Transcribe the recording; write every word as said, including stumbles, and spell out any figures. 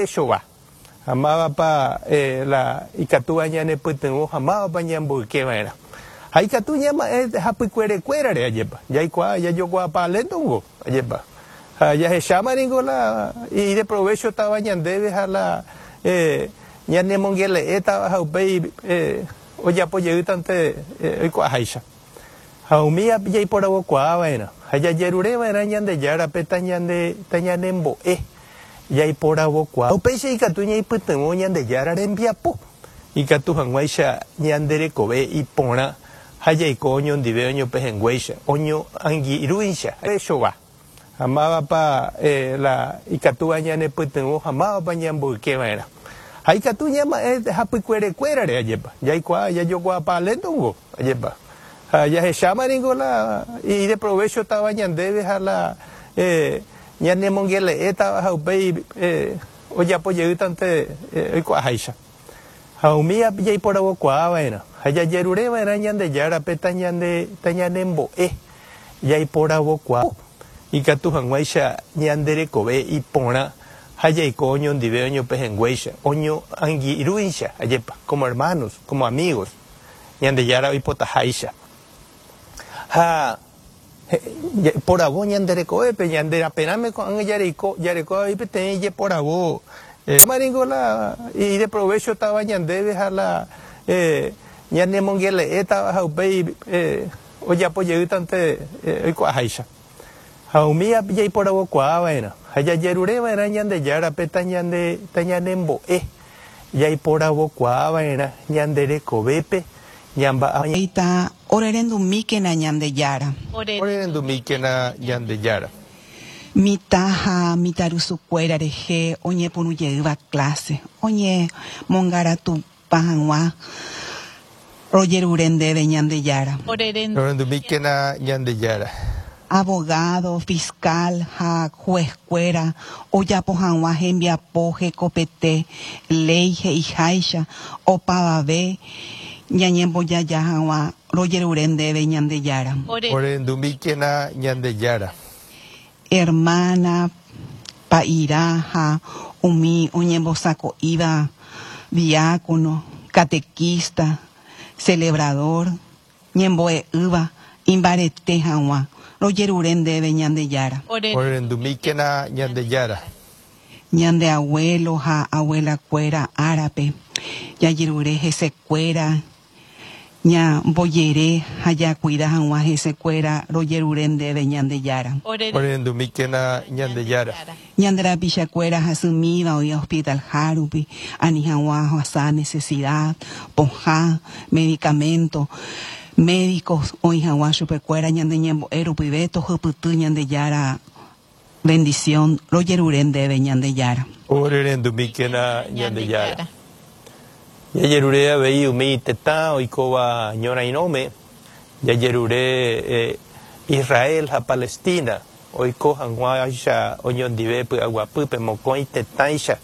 ideprovechova ha mávapa la ikatúva ñanepytyvõ ha mávapa ñamboykeva'erã. Ha ikatu ñama'ẽ hapykuerekuérare ajépa, jaikuaa jajokuaapa léntongo ajépa. Ha jahecháma ningo la ideprovéchotava ñandéve ha la ñanemongele'étava ha upéi ojapojeýtante oikuaaháicha. Ha umi jaiporavokuaava'erã ha jajerureva'erã Ñandejárape tañande tañanembo'e jaiporavokuaa. Upéicha ikatu ñaipytyvõ Ñandejára rembiapo ikatu hag̃uáicha ñande rekove iporã ha jaiko oñondive oñopehẽnguéicha oñoangirũicha chova. Ha mávapa la ikatúva ñanepytyvõ ha mávapa ñamboykeva'erã. Ha ikatu ñama'ẽ hapykuerekuérare ajépa, jaikuaa jajokuaapa léntongo ajépa. Ha jahecháma ningo la ideprovéchotava ñandéve ha la ñanemongele'étava ha upéi ojapojeýtante oikuaaháicha. Ha umi jaiporavokuaava'erã ha jajerureva'erã Ñandejárape tañande tañanembo'e jaiporavokuaa. Ikatu hag̃uáicha ñande rekove iporã ha jaiko oñondive oñopehẽnguéicha oñoangirũicha ajépa, como hermanos, como amigos, Ñandejára oipotaháicha. Ha poravo ñande rekovépe ñande raperãme ko'ág̃a jareko jareko avei peteĩ jeporavo ningo la ideprovéchotava ñandéve ha la ñanemongele'étava ha upéi ojapojeýtante oikuaaháicha. Ha umi jaiporavokuaava'erã ha jajerureva'erã Ñandejárape tañande tañanembo'e jaiporavokuaava'erã ñande rekovépe ñamba'apo. Ita orerendumíkena Ñandejára. Orerendumíkena Ñandejára. Mitã ha mitãrusukuéra rehe oñepyrũjeýva clase oñemongaratupa hag̃ua rojerure ndéve Ñandejára. Orerendumíkena Ñandejára. Abogado, fiscal ha juezkuéra ojapo hag̃ua hembiapo hekopete léi he'iháicha opavave ñañembojaja hag̃ua rojerure ndéve Ñandejára. Orerendumíkena Ñandejára. Hermana, pa'irã ha umi oñembosako'íva diácono, catequista, celebrador, ñembo'e'ỹva imbarete hag̃ua rojerure ndéve Ñandejára. Orerendumíkena Ñandejára. Ñande abuelo ha abuelakuéra árape jajerure hesekuéra ñambojere ha jakuida hag̃ua hesekuéra rojerure ndéve Ñandejára. Orerendumíkena Ñandejára. Ñande rapichakuéra hasymíva oĩ hospital hárupi ani hag̃ua ohasa necesidad, pohã, medicamento, médicos oĩ hag̃ua chupekuéra ñande ñembo'e rupive tohypyty Ñandejára bendición rojerure ndéve Ñandejára. Orerendumíkena Ñandejára. Jajerure avei umi tetã oikóva ñorairõme, jajerure Israel ha Palestina oiko hag̃uáicha oñondive py'aguapýpe mokõi tetãicha.